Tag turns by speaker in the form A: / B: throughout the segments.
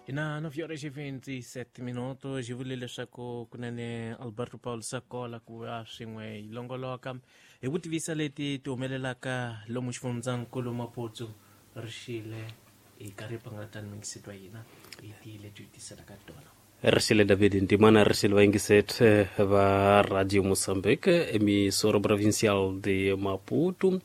A: Ina 9:27 xi vule leswaku kunene Alberto Paul Sakola ku va swin'we hi longoloka hi ku tivisa leti ti humelelaka lomu xifundzankulu Maputo rixile hi karhi pangalatani mingiseti wa hina hi ti leti hi tiselaka tona.
B: Rixile David Ntimana, rixile vayingiseti va Radio Mozambique, emissora provincial de Maputo.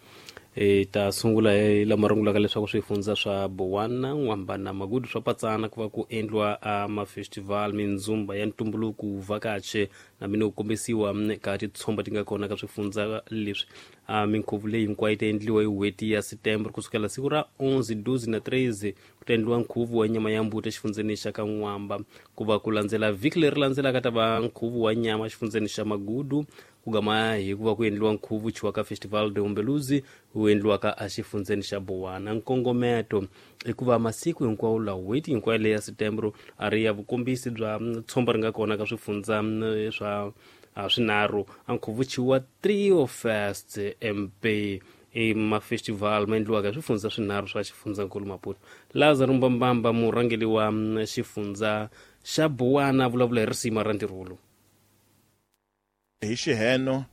B: Hi ta sungula hi lama rungulaka leswaku swifundza swa Bowana, N'wamba na Magudu swa patsana ku va ku endliwa a mafestival, mindzumba ya ntumbuluko, vhakache na mino ku kombisiwa ka titshomba ti nga kona ka swifundza leswi. A minkhuvo leyi hinkwayo yi ta endliwa hi n'hweti ya September kusukela siku ra 11, 12 na 13 ku ta endliwa nkhuvo wa nyama ya mbuti exifundzeni xa ka N'wamba. Ku va ku landzela vhiki leri landzelaka ta va nkhuvo wa nyama exifundzeni xa Magudu, ku gama hi ku va ku endliwa nkhuvo chiwa ka Festival de Umbeluzi wu endliwaka exifundzeni xa Bowana. Nkongometo i ku va masiku hinkwawo lawa n'hweti hinkwayo leyi ya September a ri ya vukombisi bya tshomba ri nga kona ka swifundza swa swinharhu. A nkhuvo chiwa Trio Fest MP i mafestival ma endliwaka hi swifundza swinharhu swa xifundzankulu Maputo. Lazaro Mbambamba, murhangeri wa xifundza xa Bowana, vulavula hi risima ra ntirho lowu.
C: Hi xiheno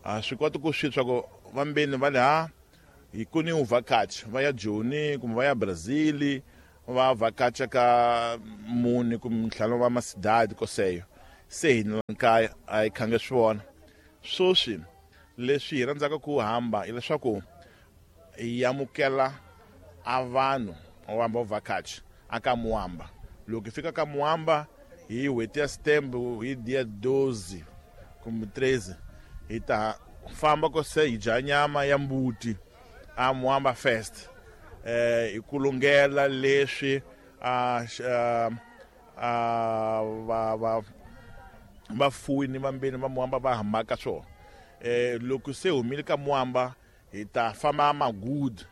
C: a swi koti ku swi swa ku vambeni va le ha hi ku ni vhakachi va ya Joni kumbe va ya Brazil va vhakacha ka mune kumbe ntlhanu va masidadi koseyo se hina kaya a hi khange swi vona. Sweswi leswi hi rhandzaka ku hamba hileswaku hi amukela a vanhu va hamba vhakachi aka Muamba. Loko hi fika ka Muamba hi n'hweti ya September hi dia 12 kumbe 13 hi ta famba ko se hi dya nyama ya mbuti a Muamba Fest hi ku lungela leswi a va vafuwi ni vambeni va Muamba va hambaka swona. Loko se humile ka Muamba hi ta famba Magudu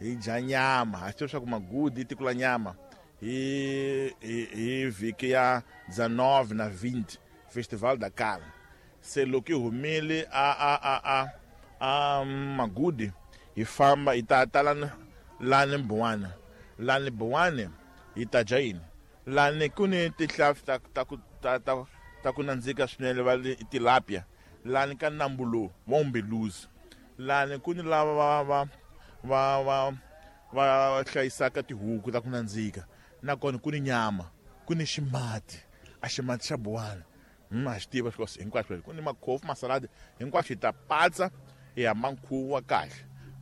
C: hi dya nyama. Ha swi tiva leswaku Magudu i tiko la nyama. Hi vhiki ya 19 na 20 Festival da Carne. Se loko hi humile a Magudu hi famba hi ta tala lani Bowana. Lani Bowana hi ta dya yini? Lani ku ni tihlampfi ta ku nandzika swinene va le tilapia. Lani ka nambu lowu wa Umbeluzi. Lani ku ni lava va hlayisaka tihuku ta ku nandzika. Nakona ku ni nyama, ku ni ximati, a ximati xa Bowana. Ha xi tiva swilo hinkwaswo. Ku ni makhofu, masaladi, hinkwaswo hi ta patsa hi hamba nkhuvo wa kahle.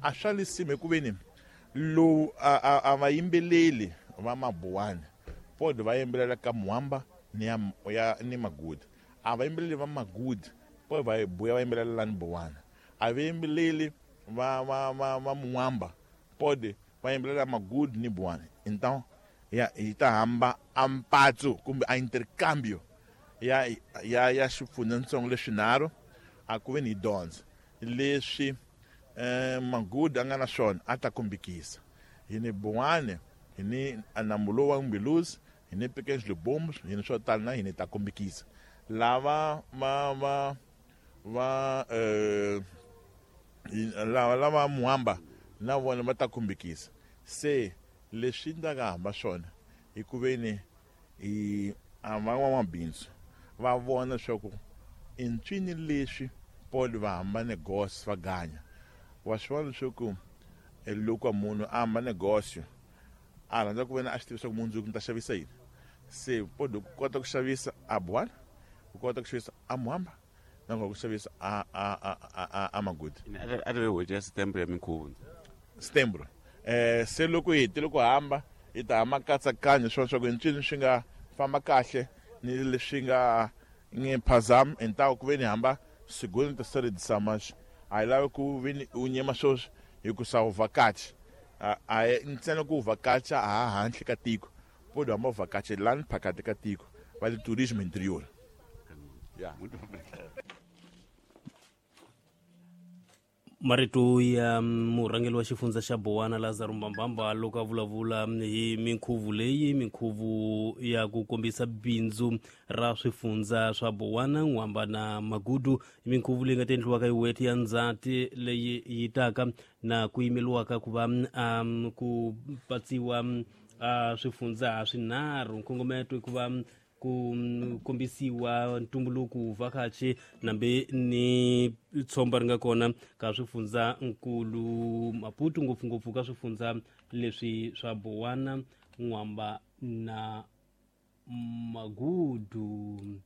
C: A swa lisima hikuveni lowu a va yimbeleli va Mabuwana pod va yimbelela ka Muamba ni ya ni Magudu. A va yimbeleli va Magudu pod va buya va yimbelela lani Bowana. A va yimbeleli va Muamba pod va yimbelela Magudu ni Bowana. Então ya hi ta hamba a mpatso kumbe a intercambio ya xifundzatsongo leswinharhu a ku ve ni dyondza leswi Magudu a nga na swona a ta kombekisa. Hi ni Bowana, hi ni nambu lowu wa Umbeluzi, hi ni Pequenos Libombos, hi ni swo tala na hina ta kombekisa. Lava va lava Muamba na vona va ta kombekisa. Se leswi ndzi nga hamba swona hi ku ve ni hi a van'wamabindzu va vona leswaku i ncini leswi Paul va hamba negosyo va ganya. Wa swi vona leswaku loko munhu a hamba negosyo a rhandza ku vena a swi tiva leswaku mundzuku ni ta xavisa yini. Se Paul ku kota ku xavisa a Bowana, ku kota ku xavisa a Muamba, na ku xavisa a Magudu.
D: A ri n'hweti ya September ya minkhuvo.
C: September. Se loko hi hetile ku hamba hi ta hamba nkatsakanyo swona swa ku ncini swi nga famba kahle ni leswi nga nge phazami entawu ku ve ni hamba segunda terceira edição, mas a hi lavi ku ve ni u nyema sweswi hi ku sa u vhakacha. A hi ntsena ku u vhakacha ha handle ka tiko, pod hamba u vhakacha lani phakati ka tiko va le tourisme interior. Yeah.
B: Marito ya murhangeri wa xifundza xa Bowana Lazaro Mbambamba loko a vulavula hi minkhuvo leyi, minkhuvo ya ku kombisa bindzu ra swifundza swa Bowana, N'wamba na Magudu, minkhuvo leyi nga ta endliwaka hi n'hweti ya Ndzhati leyi yi taka na ku yimeriwaka ku va ku patsiwa a swifundza swinharhu. Nkongometo i ku va ku kombisiwa ntumbuluko vhakachi nambe ni tshomba ri nga kona ka swifundza nkulu Maputo, ngopfungopfu ka swifundza leswi swa Bowana, N'wamba na Magudu.